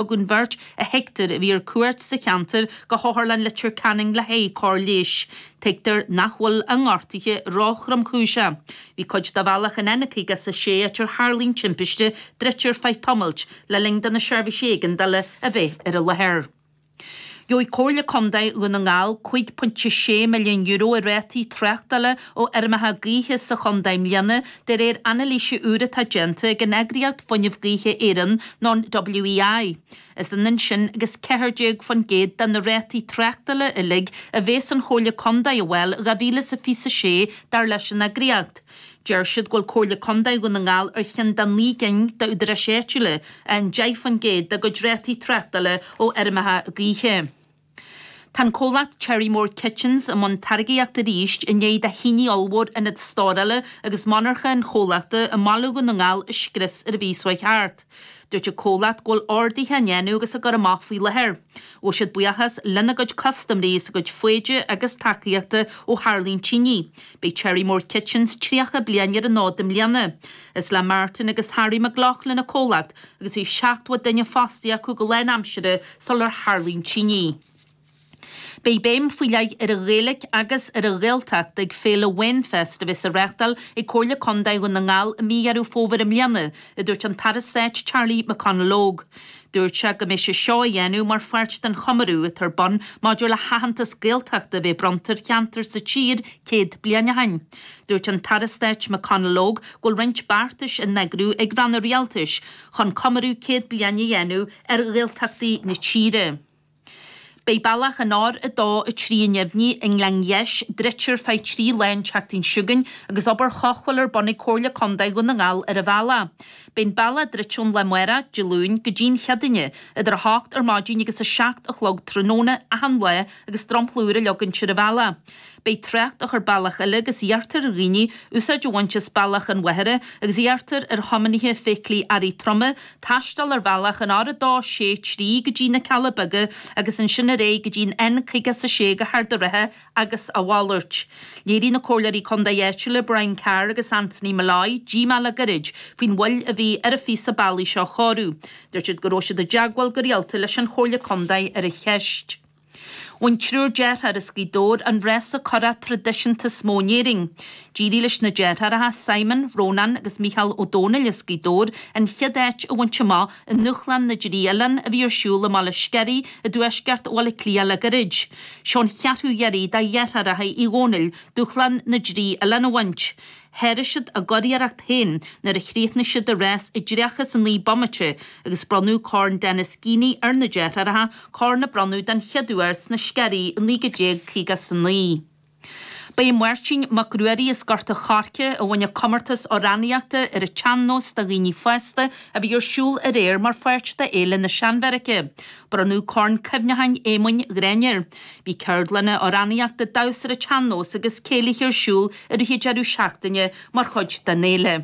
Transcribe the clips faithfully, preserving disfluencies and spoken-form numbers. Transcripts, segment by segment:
Thug an bheirt a thuigtear a bhí ar cuairt sa cheantar go hOtharlann Leitir Ceanainn le haghaidh cóir leighis. Tuigtear nach bhfuil a ngortuithe róthromchúiseach. Bhí cuid de bhealach an N caoga is a sé áit ar tharla an timpiste druidte ar feadh tamaill le linn do na seirbhísí éigeandála a bheith ar an láthair. Gheobhaidh Comhairle Contae Dhún na nGall cúig pointe sé milliún euro i rátaí tráchtála ó fheirmeacha gaoithe sa chontae i mbliana, de réir anailíse úr atá déanta ag an eagraíocht Fuinneamh Gaoithe Éireann, nó an WEI. Is ionann sin agus ceathair déag faoin gcéad de na rátaí tráchtála uilig a bheas an Chomhairle Contae a fháil dhá mhíle is a fiche a sé, dar leis an eagraíocht. Deir siad go bhfuil Comhairle Contae Dhún na nGall ar cheann de naoi gcinn d'údaráis áitiúla a fhaigheann deich faoin gcéad dá gcuid rátaí tráchtála ó fheirmeacha gaoithe. Tá an comhlacht Cherrymore Kitchens i mbun táirgeachta arís i ndiaidh do thine ollmhór ionad stórála agus monarcha an chomhlachta i mBaile Dhún na nGall a scrios ar an mhí seo thart. Dúirt an comhlacht go bhfuil orduithe á ndéanamh agus á gcur amach faoi láthair. Ghabh siad buíochas lena gcuid custaiméirí as a gcuid foighde agus tacaíochta ó tharla an tine. Beidh Cherrymore Kitchens tríocha bliain ar an fhód i mbliana. Is le Martin agus Harry McLaughlin an comhlacht agus bhí seachtó duine fostaithe acu go lánaimseartha sular tharla an tine. Beidh béim faoi leith ar an Ghaeilge agus ar an Ghaeltacht ag Féile Wainfest a bheas á reáchtáil ag Comhairle Contae Dhún na nGall i mí Dheireadh Fómhair i mbliana, a dúirt an tAire Stáit Charlie McConalogue. Dúirt sé go mbeidh sé seo á dhéanamh mar pháirt den chomóradh atá ar bun maidir le haitheantas Gaeltachta a bheith bronnta ar cheantar sa tír céad bliain ó shin. Dúirt an tAire Stáit McConalogue go bhfuil roinnt beartais á n-eagrú ag ranna rialtais chun comóradh céad bliain a dhéanamh ar Ghaeltachtaí na tíre. Beidh bealach an R a dó a trí i nDuibhní i nGleann Gheis druidte ar feadh trí lá an tseachtain seo chugainn agus obair chothabhála ar bun ag Comhairle Contae Dhún na nGall ar an bhealach. Beidh an bealach druidte ón lá amárach, Dé Luain, go dtí an Chéadaoine, idir a hocht ar maidin agus a seacht a chlog tráthnóna achan lá agus dromchla úr á leagaint ar an bhealach. Beidh trácht á chur bealach eile agus iarrtar ar dhaoine úsáid a bhaint as bealach an Mhachaire agus iarrtar ar thiománaithe feithiclí earraí troma taisteal ar bhealach an R a dó sé trí go dtí na Cealla Beaga agus ansin ar aghaidh go dtí an N caoga is a sé go hArd an Rátha agus a mhalairt. Léirigh na comhairleoirí contae áitiúla Brian Carr agus Anthony Molloy díomá le gairid faoin mhoill a bhí ar an phíosa bealaigh seo a chóiriú. Dúirt siad go raibh siad i dteagmháil go rialta leis an Chomhairle Contae ar an cheist. Bhain triúr deartháir as Gaoth Dobhair an rása curach traidisiúnta is mó in Éirinn. D'éirigh leis na deartháireacha Simon, Rónán agus Mícheál Ó Domhnaill as Gaoth Dobhair an chéad áit a bhaint amach i nDúshlán na dTrí Oileán a bhí ar siúl i mBaile Sceirí i dtuaisceart Bhaile Átha Cliath le gairid. Seo an cheathrú iarraidh do dheartháireacha Uí Dhónaill Dúshlán na dTrí Oileán a bhaint. Sháraigh siad a gcuriarracht féin nuair a chríochnaigh siad a rás i dtríocha is a naoi bomaite agus bronnadh Corn Denis Geaney ar na deartháireacha, corn a bronnadh den chéad uair sna Sceirí i naoi déag déag caoga is a naoi. Ba é Máirtín Mac Ruairí as Gort a' Choirce a bhain an comórtas amhránaíochta ar an tsean-nós do dhaoine fásta a bhí ar siúl aréir mar pháirt de Fhéile na Seanbheairice. Bronnadh Corn Cuimhneacháin Éamoinn Ghráinne air. Bhí ceardlanna amhránaíochta, damhsa ar an tsean-nós agus céilithe ar siúl i rith an deireadh seachtaine mar chuid den fhéile.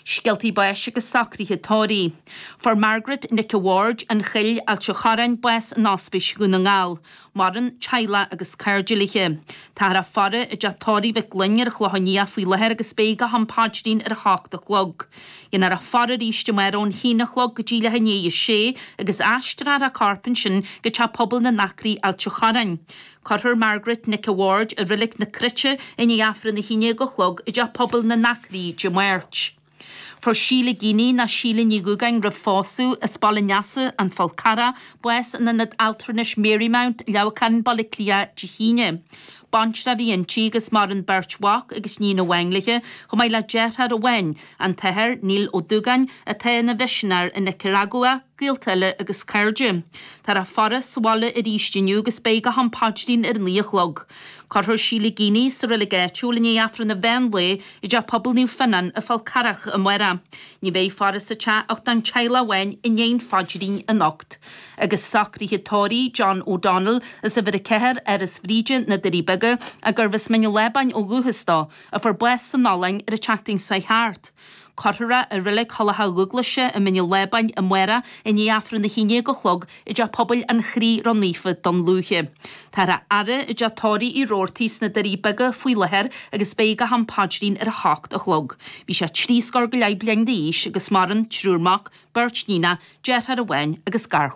Scéaltaí báis agus socruithe tórraimh. Fuair Margaret Nic a' Bhaird, An Chill, Ailt a' Chorráin, bás in Ospís Dhún na nGall. Maireann teaghlach agus cairde léi. Táthar á faire i dteach tórraimh Mhic Gloinn ar an Chlochán Liath faoi láthair agus beidh go ham paidrín ar a hocht a chlog. Dhéanfar a faire arís amárach ón haon a chlog go dtí leath i ndiaidh a sé agus aistreofar a corp ansin go Teach Pobail na nAcraí, Ailt a' Chorráin. Cuirfear Margaret Nic a' Bhaird i Reilig na Cruite i ndiaidh Aifreann a haon déag a chlog i dTeach Pobail na nAcraí Dé Máirt. Fuair Síle Geaney, nó Síle Ní Dhúgáin roimh phósadh, as Baile an Easa, An Fál Carrach, bás in Ionad Altranais Marymount, Leamhcán, Baile Átha Cliath, Dé hAoine. Baintreach a bhí inti agus maireann beirt mhac agus níon amháin léi, chomh maith le deartháir amháin, an tAthair Neil Ó Dúgáin, atá ina mhisinéir i Nicearagua, gaolta eile agus cairde. Táthar á faire sa bhaile arís inniu agus beidh go ham paidrín ar a naoi a chlog. Cuirfear Síle Geaney sa reilig áitiúil i ndiaidh Aifreann an mheán lae i dTeach Pobail Naomh Fionnán i Fál Carrach amárach. Ní bheidh faire sa teach ach don teaghlach amháin i ndiaidh an phaidrín anocht. Agus socruithe tórraimh John O'Donnell as uimhir a ceathair, Áras Bhríde, na Doirí Beaga, a gurbh as Mín an Lábáin ó dhúchas dó, a fuair bás san Ollainn ar an tseachtain seo thart. Cuirfear é i Reilig Thulacha Dhúglaise i mBinn an Lábáin amárach i ndiaidh Aifreann a haon déag a chlog i dTeach Pobail an Chroí Ró-Naofa Dún Lúiche. Táthar á fhaire i dteach tórraimh Uí Rabhartaigh sna Doirí Beaga faoi láthair agus beidh go ham paidrín ar a hocht a chlog. Bhí sé trí scór go leith bliain d'aois agus maireann triúr mac, beirt níonach, deartháir amháin agus garchlann.